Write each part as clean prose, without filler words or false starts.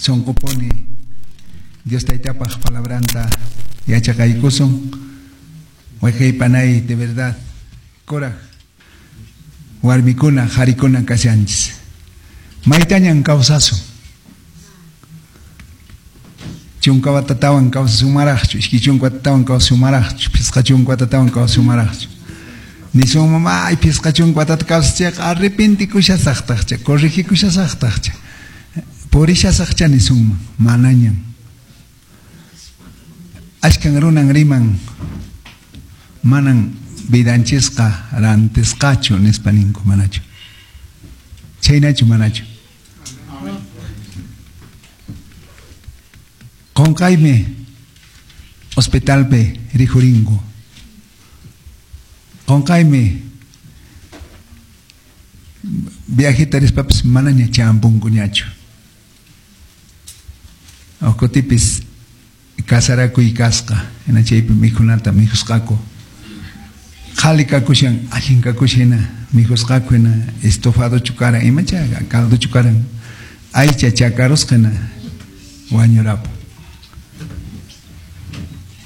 Sonqopuni Dios taytapaq palabranta yachaqaykusun. Wayqey panay, de verdad, kuraq warmikuna, qharikuna kashanchis. Maytañan kawsasun. 10 watatawan kawsasumaraqchu, 20 watatawan kawsasumaraqchu, 50 watatawan kawsasumaraqchu. Nisun mamá, ay 50 watata kawsachayqa arrepentikushasaqtaqcha, corregikushasaqtaqcha, purishasaqcha nisunman, manañan. Ashkan runan riman, manan vidanchisqa rantisqachu nispa ninku, manachu. Chaynachu, manachu. Qonqaymi hospitalpi rikhuringu. Qonqaymi viajeta rispapis manaña champunkuñachu. Kutipis kasarakuy kasqa, hina chaypi mikhunata mikhusqaku. Qhali kakushan, allin kakushan hina mikhusqaku hina estofadochu karan, imacha caldochu karan, aycha chakarusqa hina wañurapu.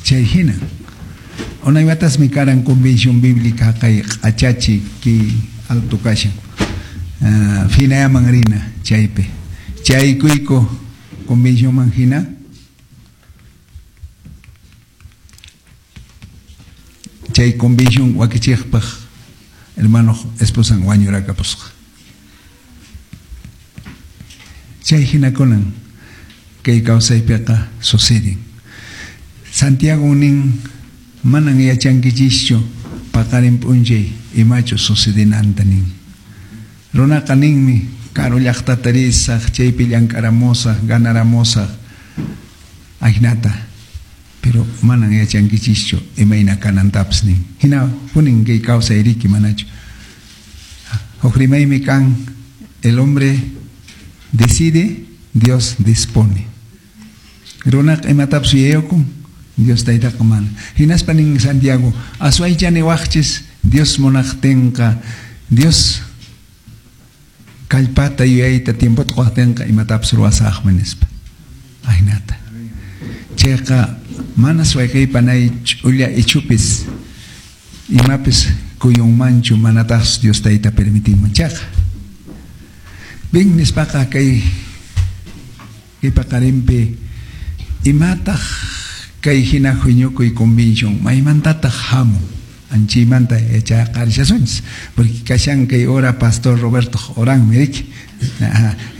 Chay hina. Unay watasmi karan convención bíblica kay q'achachi ki alto kashan. Finayaman rina chaypi. Chaykuyku convencionman hina. Chay convención wakichiqpaq hermano esposan wañurakapusqa. Chay hinakunan kay kawsaypiqa suceden. Santiago nin manan yachankichischu paqarin p'unchay imachu sucedenanta nin. Runaqa ninmi karu llaqtata risaq, chaypi llank'aramusaq, ganaramusaq, ajnata. Pero manan yachankichischu imayna kanantapas nin. Hina punin kay kawsay riki manachu. Huk rimaymi kan, el hombre decide, Dios dispone. Runaqa imatapas yuyayukun, Dios taytaqa mana. Hinaspa nin Santiago, aswaychani waqchis, Dios munaqtinqa, Dios kallpata yuyayta tiempota quqtinqa imatapas ruwasaqmi nispa. Ajnata. Chayqa manas wayqeypanay ch'ulla ichupis imapis kuyunmanchu manataqchu Dios tayta permitinman chayqa. Bien nispaqa kay paqarinpi imataq kay hina huñukuy convención maymantataq hamun anchaymanta yachaqarishasunchis, porque kashan kay hora pastor Roberto oranmi riki.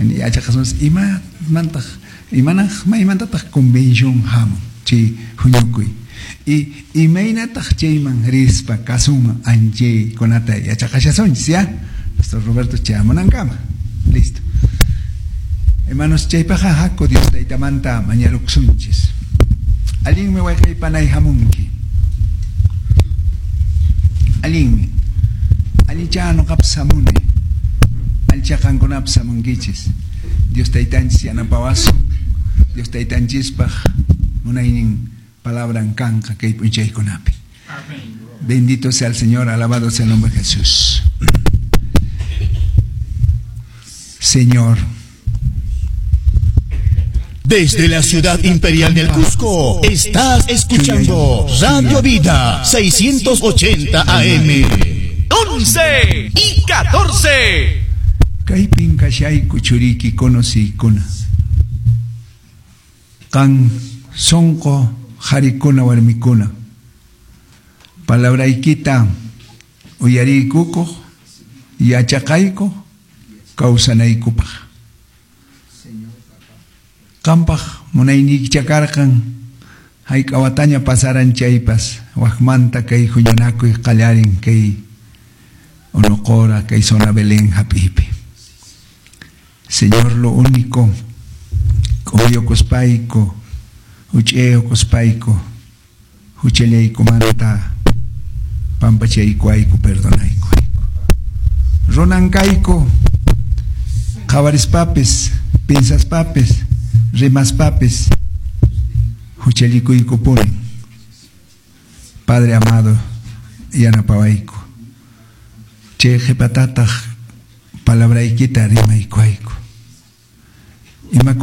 Yachaqasunchis imamantaq imanaq maymantataq convención hamun chay huñukuy y imaynataq chayman rispa kasunman anchaykunata yachaqashasunchis ya pastor Roberto chayamunankama. Listo. Hermanos, chaypaqa haku Dios taytamanta mañarukusunchis. Allinmi wayqeypanay hamunki. Allinmi. Allincha nuqapas hamuni. Allincha qankunapas hamunkichis. Dios taytanchis yanapawasun. Dios taytanchispaq munaynin palabran kanqa kay p'unchaykunapi. Bendito sea el Señor, alabado sea el nombre de Jesús. Señor. Desde la ciudad imperial del Cusco, estás escuchando Radio Vida 680 AM. 11 y 14. Kaypin kashayku churiki kunosiykuna. Qan sonqo qharikuna warmikuna. Palabraykita uyariykukuq, yachaqayku, kawsanaykupaq. Qampaq munayniykicha karqan hayk'a wataña pasaran chaypas wakmanta kay huñunakuy qallarin kay Unuqura kay zona Belén hap'ipi. Señor, lo único k'uyukuspayku, huch'iyukuspayku, huchallaykumanta pampachaykuayku, perdonaykuayku. Runan kayku, qhawarispapis, pinsaspapis, rimaspapis, huchallikuykupunin. Padre amado, yanapawayku. Chay qhipatataq palabraykita rimaykuayku. Imakuna